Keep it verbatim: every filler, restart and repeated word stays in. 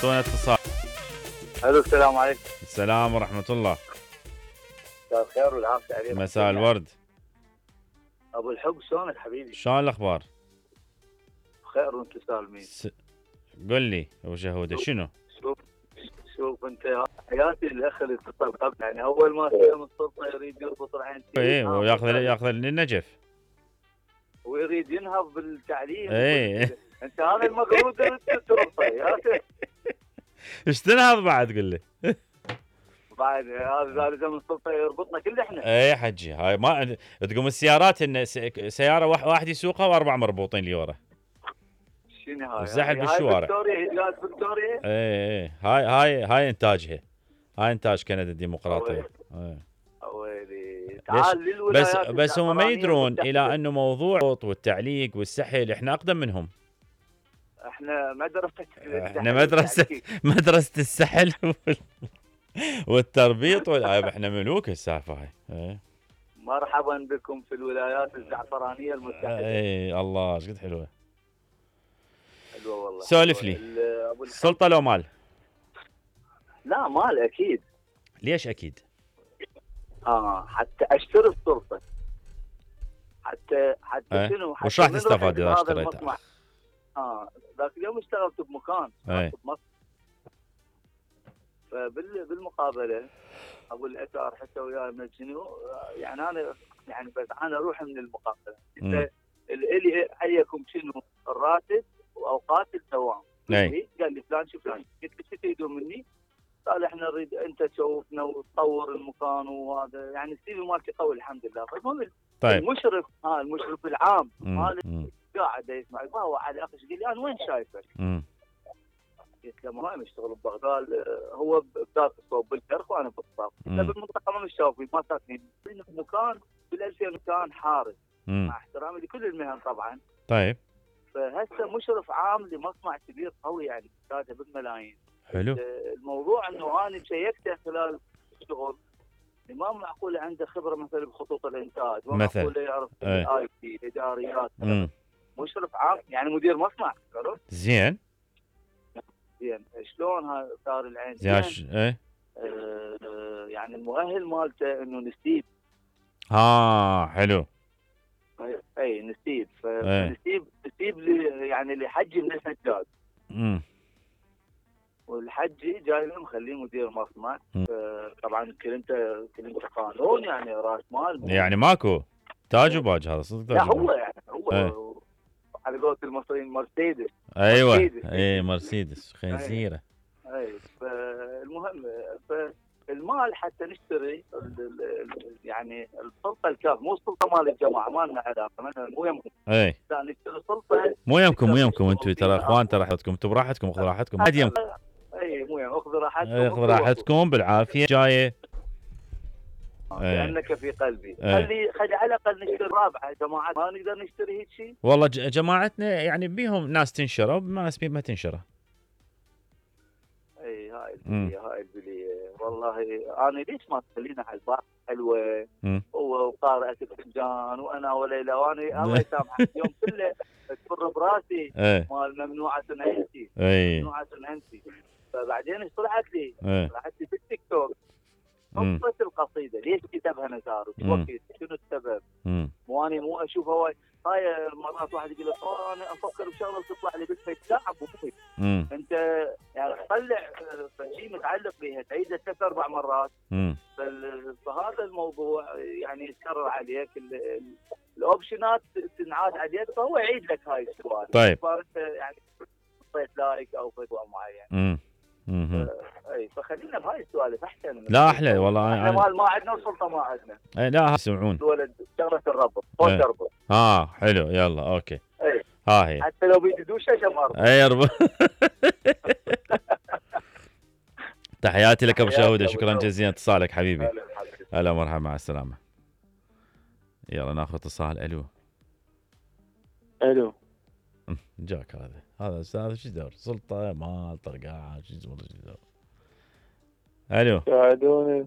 اعطونا اتصال. الو السلام عليكم. السلام ورحمة الله. مساء الخير والعافية عليكم. مساء الورد. ابو الحب شلونك حبيبي؟ شلون الاخبار؟ بخير وانتم سالمين. س... قل لي ابو شهوده شنو؟ شوف شوف انت حياتي الاخ اللي اتصل قبل، يعني اول ما استلم السلطه يريد يربط رعينتين ايه وياخذ ياخذ للنجف ويريد ينهض بالتعليم. ايه انت هذا المفروض السلطه يا اخي. ايش تنهض بعد قل لي؟ بعد هذا لازم السلطه يربطنا كل احنا. ايه حجي هاي ما تقوم السيارات ان سياره واحد يسوقها واربع مربوطين لي ورا. شنو هاي؟ والزحف بالشوارع. فيكتوريا هي فيكتوريا. ايه ايه هاي هاي هاي انتاجها. هاي انتاج كندا الديمقراطيه. ايه ويلي تعال للولايات. بس بس هم ما يدرون الى انه موضوع والتعليق والسحل احنا اقدم منهم. احنا مدرسه احنا مدرسه مدرسه السحل والتربيط والآب. احنا ملوك السالفه هاي. ايه مرحبا بكم في الولايات الزعفرانيه المتحده. اي الله ايش قد حلوه. حلوه والله. سولف لي. السلطه لو مال؟ لا مال اكيد. ليش اكيد؟ اه حتى اشتري السلطه. حتى حتى ايه؟ شنو؟ وش راح تستفاد اذا اشتريتها؟ اه ذاك اليوم اشتغلت بمكان ايه؟ فبالمقابله ابو الاثار حتى وياي من شنو يعني انا يعني بس انا اروح من المقابله. انت الي حيكم شنو الراتب واوقات الدوام. اي قال لي فلان شو فلان. قلت له شو تريدون مني؟ قال احنا نريد انت تشوفنا وتطور المكان وهذا يعني السي في مالتي قوي الحمد لله. فالمهم طيب المشرف ها المشرف العام مال قاعد يسمع ما هو على اخي قال لي انا وين شايفك؟ قلت له ما يشتغل ببغداد هو بذات الصوب بالكرخ وانا بالصاف. بالمنطقه ما مشافين ما ساكنين في مكان بالألفين كان حارس مع احترامي لكل المهن طبعا. طيب فهسه مشرف عام لمصنع كبير قوي يعني كاتب بالملايين. حلو. الموضوع انه انا شيكته خلال الشغل ما معقوله عنده خبره مثلا بخطوط الانتاج ما معقوله يعرف الاي تي الاداريات. مشرف عام يعني مدير مصنع عرفت؟ زين زين شلون هذا صار العين؟ زين ايه آه يعني المؤهل مالته انه نسيب. ها حلو. اي نسيب فنسيب نسيب لي يعني لحجي من الحجاج. امم والحجي جاي له مخليه مدير مصنع. طبعا كلمته كلمته قانون يعني راس مال يعني ماكو تاج وباج هذا صدق. لا هو يعني هو ايه. على قولة المصريين مرسيدس. ايوه اي مرسيدس خنزيره. اي فالمهم فالمال حتى نشتري يعني السلطه الكاف مو السلطه مال الجماعه ما لنا علاقه مثلا مو يمكم. اي لا نشتري سلطه مو يمكم مو يمكم انتم ترى اخوان ترى راحتكم انتم براحتكم خذوا راحتكم عاد يمكم. اي مو يمكم اخذوا راحتكم اخذوا راحتكم بالعافيه جايه. لانك في قلبي. خلي خلي على الاقل نشتري رابعه جماعات ما نقدر نشتري هيك شيء. والله جماعتنا يعني بيهم ناس تنشرى وناس ما تنشرى. اي هاي البليه هاي البليه والله انا ليش ما تخلينا على البحر حلوه وقارئه الفنجان وانا وليلى وانا الله يسامحك اليوم كله تفر براسي مال ممنوعه انتي ممنوعه انتي. فبعدين ايش طلعت لي؟ طلعت لي في التيك توك قصة القصيدة ليش كتبها نزار وقت شنو السبب؟ مو انا مو اشوفها وايد هاي مرات واحد يقول لك انا افكر بشغله تطلع لي بالفيس لا ابو فيس انت يعني تطلع شيء متعلق بها تعيده ثلاث اربع مرات. فهذا الموضوع يعني يتكرر عليك الاوبشنات تنعاد عليك فهو يعيد لك هاي السؤال. طيب يعني حطيت لايك او فتوى معين. امم اي فخلينا بهاي السوالف احسن. لا احلى والله احنا مال ما عندنا وسلطه ما عندنا. اي لا يسمعون ولد شغله الربط فوق دربه. اه حلو يلا اوكي. اي ها هي حتى لو بيدوش شم ارض. اي رب. تحياتي لك ابو شهوده شكرا جزيلا اتصالك حبيبي. هلا مرحبا مع السلامه. يلا ناخذ اتصال. الو الو جاك هذا هذا استاذ شو دور سلطه مال طرقاعه شو والله شو دور. الو ساعدوني.